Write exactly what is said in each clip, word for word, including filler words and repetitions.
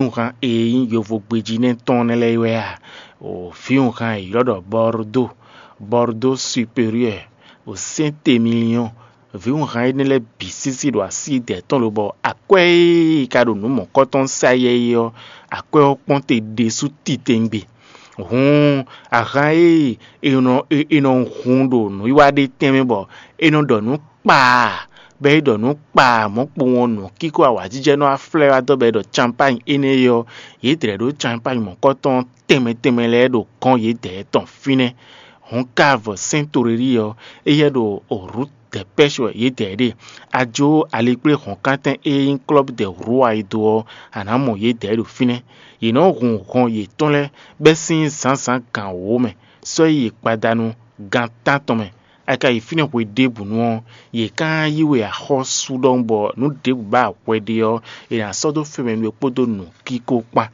vǐwunhan e nyí yovogbejí nɛ́ tɔn nɛ́ lɛ́ɛ wɛ a? O vǐwunhan e è ylɔ́ ɖɔ Bordeaux, Bordeaux supérieur, o Saint-Émilion, vǐwunhan énɛ́ lɛ́ɛ bǐ sísí ɖo así dɛ̌ tɔn lobɔ akwɛ́ e ka ɖo nǔ mɔ̌kɔtɔn sa yɛ é ɔ́, akwɛ́ ɔ́ kpɔ́n te ɖésú titewungbe. Hǔn ahan e è nɔ è nɔ hun ɖo nǔwiwa ɖé tɛnmɛ bɔ è nɔ ɖɔ nǔ kpaa, bɔ é ɖɔ nǔ kpaa mɔ̌ kpowun ɔ́, nǔkíko awǎjijɛ nɔ wá flɛ́ wá dɔ́ bɔ é ɖɔ campány énɛ́ é ɔ́, yě dlɛ̌ ɖó campány mɔ̌kɔtɔn tɛnmɛ tɛnmɛ lɛ́ɛ ɖo gɔ́n yědɛɛ tɔn fínɛ́. Hɔ̌nkavɔ Sɛ́ntoréli ɔ́, éyɛ́ ɖo Rut Dɛpɛ́sh wɛ yědɛɛ ɖe. A jó alikplé hɔ̌nkántɛn e nyí klɔ́bú dɛ Hlua e dó ɔ́, a nǎ mɔ yědɛɛ ɖo fínɛ́. Yě nɔ́ hun hɔn yětɔn lɛ́ɛ bɛ́ sín zǎnzǎn gan wǒ mɛ, sɔ́ yi gbadanu gan tántɔn mɛ. A ka yi fínɛ́ hwe ɖěbǔnu ɔ́, yě ká yí we axɔ́sú ɖɔhun bɔ nǔ ɖěbǔ ba hwɛ ɖe ɔ́, è nǎ sɔ́ dó fɛmɛ we kpódó nǔkíko kpán,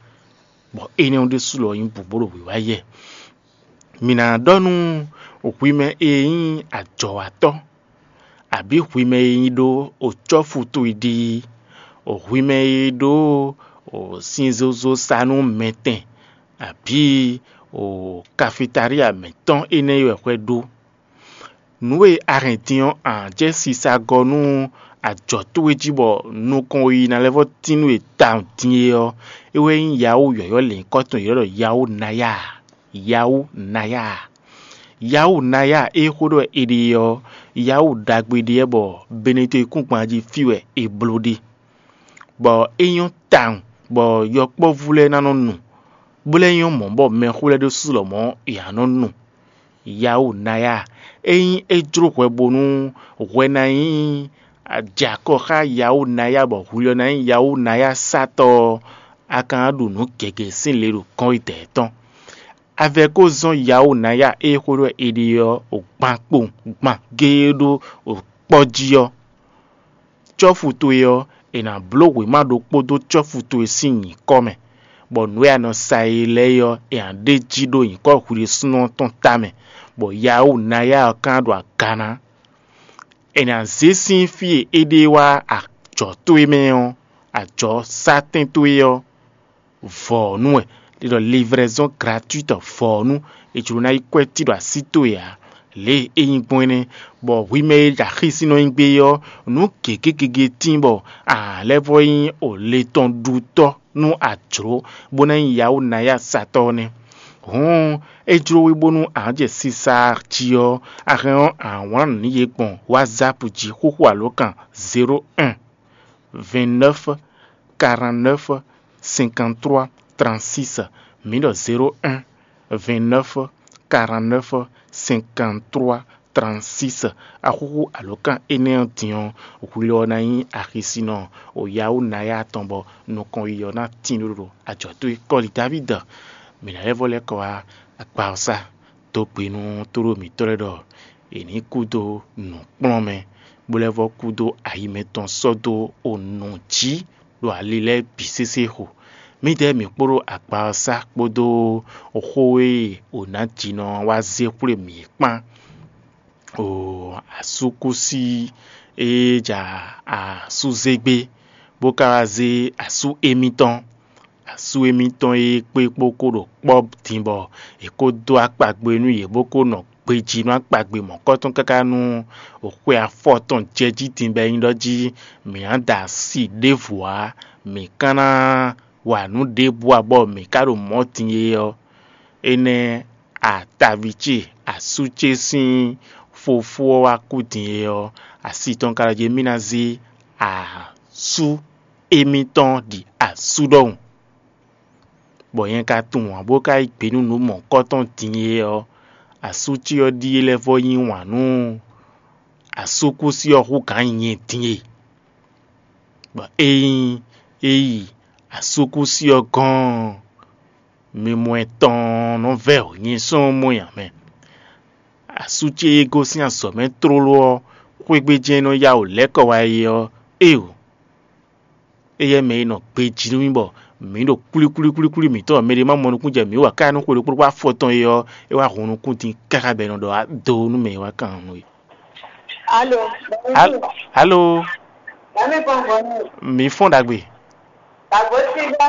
bɔ énɛ́ ɔ́ ɖésú lɔ nyí bǔbó ɖo wǐwá yɛ. Mǐ ná ɖɔ nú hwi mɛ e nyí ajɔ̌watɔ́, abǐ hwi mɛ e nyí ɖó o cɔ́fu towe ɖi, o hwi mɛ e ɖó o sin zozo sa nú mɛtɛn, abǐ o kafitalia mǐtɔn énɛ́ wɛ hwɛ ɖó. Nǔ e a hɛn din ɔ́, a jɛ sisa gɔ́ nú ajɔ̌ towe jí bɔ nukɔn e ná lɛ́ vɔ́ tín nú we tawun din é ɔ́, é wɛ nyí Yawó yɔ̌yɔ́ lěhunkɔtɔn e è ylɔ́ ɖɔ Yawó Nayá. Yawó Nayá. Yawó Nayá e xó ɖɔ è ɖe ɔ́, Yawó ɖagbe ɖe wɛ bɔ Benetɔn e kún gban jí fí wɛ è bló ɖe, bɔ é nyɔ́ tawun bɔ yɔkpɔ́vú lɛ́ɛ ná nɔ nu, bó lɛ́ nyɔ́ mɔ̌ bɔ mɛxó lɛ́ɛ ɖésú lɔmɔ̌ è nǎ nɔ nu. Yawó Nayá, ényí é jló hwɛ bónú hwɛ ná nyí jɛ akɔ xá Yawó Nayá bɔ hwi ɔ́ ná nyí Yawó Nayá satɔ́ ɔ́, a ka ná ɖu nǔ gěgé sín le ɖo kɔ́nyidɛ̌ tɔn. Avɛ ko zɔ́n Yawó Nayá e xó ɖɔ è ɖe ɔ́ gban kpowun gban géé ɖó kpɔ́ jí ɔ́. Cɔ́fu towe ɔ́, è nǎ bló wěma ɖokpó dó cɔ́fu towe sín nyǐkɔ mɛ, bɔ nǔ e a nɔ sa e lɛ́ɛ é ɔ́, è nǎ ɖe jí ɖó nyǐkɔ hwi ɖésúnɔ tɔn tamɛ, bɔ Yawó Nayá ɔ́ ka ɖo aga ná. È nǎ zé sín fí e é ɖe wá ajɔ̌ towe mɛ ɔ́, ajɔ̌sátɛn towe ɔ́, vɔ̌nu wɛ, è ɖɔ livraison gratuite vɔ̌nu, è jlǒ ná yí kwɛ́ tí ɖo así towe ǎ. Lě e é nyí gbɔn énɛ́, bɔ hwi mɛ e ɖo axisínɔ nyí gbé ɔ́, nǔ gěgé gěgé tíin bɔ a lɛ́ vɔ́ nyí o le tɔn ɖutɔ́ nú a jlǒ, bó ná nyí Yawó Nayá satɔ́ ɔ́ nɛ́. Hǔn é jló we bónú a jɛ sisa jí ɔ́, a hɛn ɔ́, a wlán nǔ nú yě gbɔn WhatsApp jí xóxó alǒkan zéro un, vingt-neuf, quarante-neuf, cinquante-trois, trente-six. Mǐ ɖɔ zéro un, vingt-neuf, quarante-neuf, cinquante-trois, trente-six. Axúxú alǒkan énɛ́ ɔ́ din ɔ́, hwi lɔ ná nyí axisínɔ o Yawó Nayá tɔn bɔ nukɔn yiyi ɔ́ ná tín ɖó ɖo ajɔ̌ towe kɔ́li Davídi. Mǐ ná lɛ́ vɔ́ lɛ́ kɔ wá akpa ɔ́ sá dó gbe nú tóɖó mǐtɔn lɛ́ɛ ɖɔ è nǐ kú dó nǔkplɔ́nmɛ, bó lɛ́ vɔ́ kú dó ayi mɛtɔn sɔ́ dó o nǔ jí ɖo ali lɛ́ɛ bǐ sésé xo. Mǐdɛɛ mǐ kpódó akpa ɔ́ sá kpódó xó e o nǎjínɔ wá zé xwlé mǐ é kpán. O asúkúsi e ja asúzégbé, bó ka wá zé asú émítɔn. Asú émítɔn e kpé kpó kó ɖo kpɔ́ din bɔ è kó dó akpagbe nú yě bó kó nɔ gbejí nú akpagbe mɔ̌kɔtɔn káká nú xwe afɔtɔn jɛ jí din bɔ é nyí ɖɔ jí mǐ ná da asi ɖěvo ǎ, mǐ ka ná wa nǔ ɖěbǔ ǎ bɔ mǐ ka ɖo mɔ̌ din é ɔ́, énɛ́ ataví ce asú ce sín fofó ɔ́ wá kú din é ɔ́, asi tɔn ka ɖɔ jí mì ná zé asú émítɔn ɖi asú ɖɔhun. Bɔ nyɛ ka tunwun ǎ bó ka yí gbe nú nǔ mɔ̌kɔtɔn din é ɔ́, asú ce ɔ́ ɖíe lɛ́ vɔ́ yí wǎn nú asúkúsi ɔ́ hú gǎn nyɛ din e. Bɔ ényí é yi asúkúsi ɔ́ gɔ́n ɔ́, mimɔ ɛtɔn nɔ vɛ́ nyɛ sɔ́ mɔ nyi amɛ. Asú ce e gosín azɔ̌ mɛ tlóló ɔ́, xwé gbe jɛ́n é nɔ yá wǔ lɛ́ kɔ wá é ɔ́, éeǒ! Éyɛ́ mɛ e nɔ gbejí nú mì bɔ mǐ ɖo kwlíkwlíkwlíkwlí mǐtɔn mɛɖé ma mɔ nukún jɛ mǐ wú ǎ káká nú xwe ɖokpó ɖokpó afɔtɔn é ɔ́, é wá hun nukún din káká bɔ è nɔ ɖɔ wá dó nú mɛ e wá kan nú é. Alo. Al- Alo, Mami Bɔnbɔn. Mǐ fɔ́n ɖagbe. Dàgbò sí bá.